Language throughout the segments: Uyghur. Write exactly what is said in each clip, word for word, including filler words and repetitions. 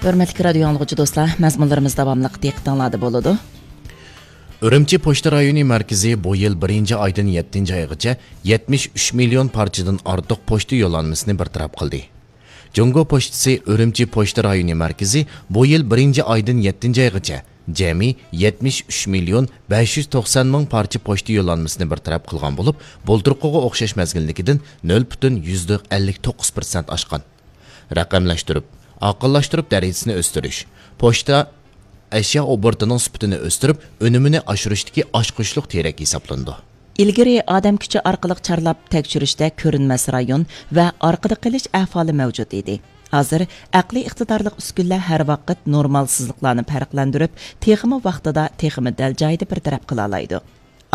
ھۆرمەتلىك رادىيو ئاڭلىغۇچى دوستلار، مەزمۇنلىرىمىز داۋاملىق دىققىتىڭلاردا بولىدۇ. ئۈرۈمچى پوچتا رايونى مەركىزى بۇ يىل بىرىنچى ئايدىن يەتتىنچى ئايغىچە يەتمىش ئۈچ مىليون پارچىدىن ئارتۇق پوچتا يوللانمىسىنى بىر تەرەپ قىلدى. جۇڭگو پوچتىسى ئۈرۈمچى پوچتا رايونى مەركىزى بۇ يىل بىرىنچى ئايدىن يەتتىنچى ئايغىچە جەمئىي يەتمىش ئۈچ مىليون بەش يۈز توقسان مىڭ پارچە پوچتا يوللانمىسىنى بىر تەرەپ قىلغان بولۇپ، بۇلتۇرقىغا ئوخشاش مەزگىلدىكىدىن نۆل پۈتۈن يۈزدە ئەللىك توققۇز پىرسەنت ئاشقان. رەقەملەشتۈرۈپ، ئاقىللاشتۇرۇپ دەرىجىسىنى ئۆستۈرۈش، پوچتا ئەشيا ئوبوروتىنىڭ سۈپىتىنى ئۆستۈرۈپ، ئۈنۈمىنى ئاشۇرۇشتىكى ئاچقۇچلۇق تىرەك ھېسابلىنىدۇ. ئىلگىرى ئادەم كۈچى ئارقىلىق چارلاپ تەكشۈرۈشتە كۆرۈنمەس رايون ۋە ئارقىدا قېلىش ئەھۋالى مەۋجۇت ئىدى. ھازىر ئەقلىي ئىقتىدارلىق ئۈسكۈنىلەر ھەر ۋاقىت نورمالسىزلىقلارنى پەرقلەندۈرۈپ، تېخىمۇ ۋاقتىدا، تېخىمۇ دەل جايىدا بىر تەرەپ قىلالايدۇ.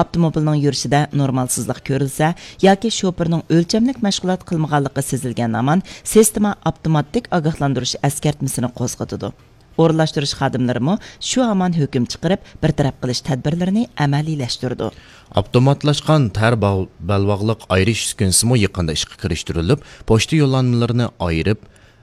ئاپتوموبىلنىڭ يۈرۈشىدە نورمالسىزلىق كۆرۈلسە ياكى شوپۇرنىڭ ئۆلچەملىك مەشغۇلات قىلمىغانلىقى سېزىلگەن ھامان، سىستېما ئاپتوماتىك ئاگاھلاندۇرۇش ئەسكەرتمىسىنى قوزغىتىدۇ. ئورۇنلاشتۇرۇش خادىملىرىمۇ شۇ ھامان ھۆكۈم چىقىرىپ، بىر تەرەپ قىلىش تەدبىرلىرىنى ئەمەلىيلەشتۈرىدۇ. ئاپتوماتلاشقان تەر باغ-، بەلباغلىق ئايرىش ئۈسكۈنىسىمۇ يېقىندا ئىشقا كىرىشتۈرۈلۈپ، پوچتا يوللانمىلىرىنى ئايرىپ،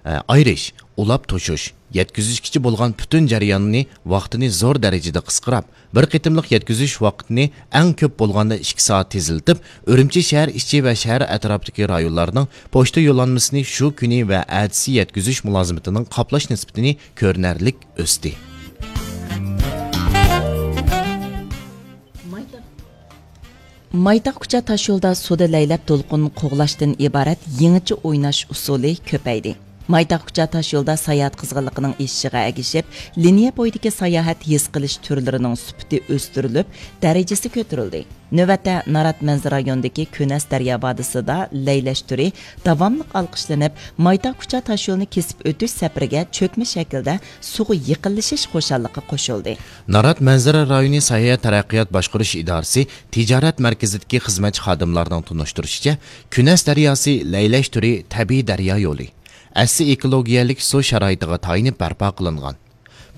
ئە، ئايرىش، ئۇلاپ توشۇش، يەتكۈزۈشكىچە بولغان پۈتۈن جەرياننى، ۋاقتىنى زور دەرىجىدە قىسقىراپ، بىر قېتىملىق يەتكۈزۈش ۋاقتىنى ئەڭ كۆپ بولغاندا ئىككى سائەت تېزلىتىپ، ئۈرۈمچى شەھەر ئىچى ۋە شەھەر ئەتراپىدىكى رايونلارنىڭ پوچتا يوللانمىسىنى شۇ كۈنى ۋە ئەتىسى يەتكۈزۈش مۇلازىمىتىنىڭ قاپلاش نىسبىتىنى كۆرۈنەرلىك ئۆستى. مايتاق كۇچا تاشيولدا سۇدا لەيلەپ دولقۇن قوغلاشتىن ئىبارەت يېڭىچە ئويناش ئۇسۇلى كۆپەيدى. مايتاق كۇچا تاشيولدا ساياھەت قىزغىنلىقىنىڭ ئېشىشىغا ئەگىشىپ، لىنىيە بويىدىكى ساياھەت ھېس قىلىش تۈرلىرىنىڭ سۈپىتى ئۆستۈرۈلۈپ، دەرىجىسى كۆتۈرۈلدى. نۆۋەتتە نارات مەنزىرە رايونىدىكى كۈنەس دەريا ۋادىسىدا لەيلەش تۈرى داۋاملىق ئالقىشلىنىپ، مايتاق كۇچا تاشيولىنى كېسىپ ئۆتۈش سەپىرىگە چۆكمە شەكىلدە سۇغا يېقىنلىشىش خۇشاللىقى قوشۇلدى. نارات مەنزىرە رايونى ساياھەت تەرەققىيات باشقۇرۇش ئىدارىسى تىجارەت مەركىزىدىكى خىزمەتچى خادىملارنىڭ تونۇشتۇرۇشىچە، كۈنەس دەرياسى لەيلەش تۈرى تەبىئىي دەريا يولى، ئەسلى ئېكولوگىيەلىك سۇ شارائىتىغا تايىنىپ بەرپا قىلىنغان.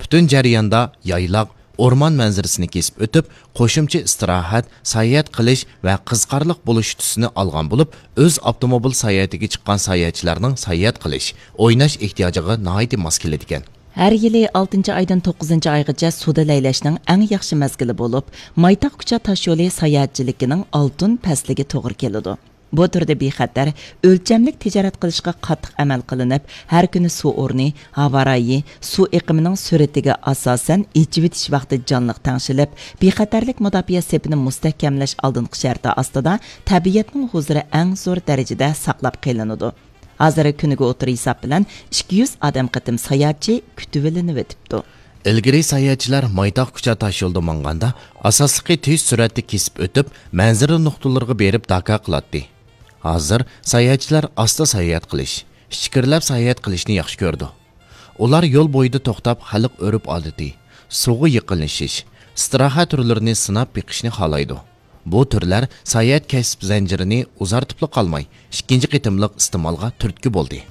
پۈتۈن جەرياندا يايلاق، ئورمان مەنزىرىسىنى كېسىپ ئۆتۈپ، قوشۇمچە ئىستىراھەت، ساياھەت قىلىش ۋە قىزىقارلىق بولۇش تۈسىنى ئالغان بولۇپ، ئۆز ئاپتوموبىل ساياھىتىگە چىققان ساياھەتچىلەرنىڭ ساياھەت قىلىش، ئويناش ئېھتىياجىغا ناھايىتى ماس كېلىدىكەن. ھەر يىلى ئالتىنچى ئايدىن توققۇزىنچى ئايغىچە سۇدا لەيلەشنىڭ ئەڭ ياخشى مەزگىلى بولۇپ، مايتاق كۇچا تاشيولى ساياھەتچىلىكىنىڭ ئالتۇن پەسلىگە توغرا كېلىدۇ. بۇ تۈردە بىخەتەر، ئۆلچەملىك تىجارەت قىلىشقا قاتتىق ئەمەل قىلىنىپ، ھەر كۈنى سۇ ئورنى، ھاۋا رايى، سۇ ئېقىمىنىڭ سۈرئىتىگە ئاساسەن ئېچىۋېتىش ۋاقتى جانلىق تەڭشىلىپ، بىخەتەرلىك مۇداپىئە سېپىنى مۇستەھكەملەش ئالدىنقى شەرتى ئاستىدا تەبىئەتنىڭ ھۇزۇرى ئەڭ زور دەرىجىدە ساقلاپ قېلىنىدۇ. ھازىر كۈنىگە ئوتتۇرا ھېساب بىلەن ئىككى يۈز ئادەم قېتىم ساياھەتچى كۈتۈۋېلىنىۋېتىپتۇ. ئىلگىرى ساياھەتچىلەر مايتاق كۇچا تاشيولىدا ماڭغاندا، ئاساسلىقى تېز سۈرئەتتە كېسىپ ئۆتۈپ، مەنزىرە نۇقتىلىرىغا بېرىپ داكا قىلاتتى. ھازىر ساياھەتچىلەر ئاستا ساياھەت قىلىش، ئىچكىرىلەپ ساياھەت قىلىشنى ياخشى كۆرىدۇ. ئۇلار يول بويىدا توختاپ، خەلق ئۆرپ-ئادىتى، سۇغا يېقىنلىشىش، ئىستىراھەت تۈرلىرىنى سىناپ بېقىشنى خالايدۇ. بۇ تۈرلەر ساياھەت كەسىپ زەنجىرىنى ئۇزارتىپلا قالماي، ئىككىنچى قېتىملىق ئىستېمالغا تۈرتكە بولدى.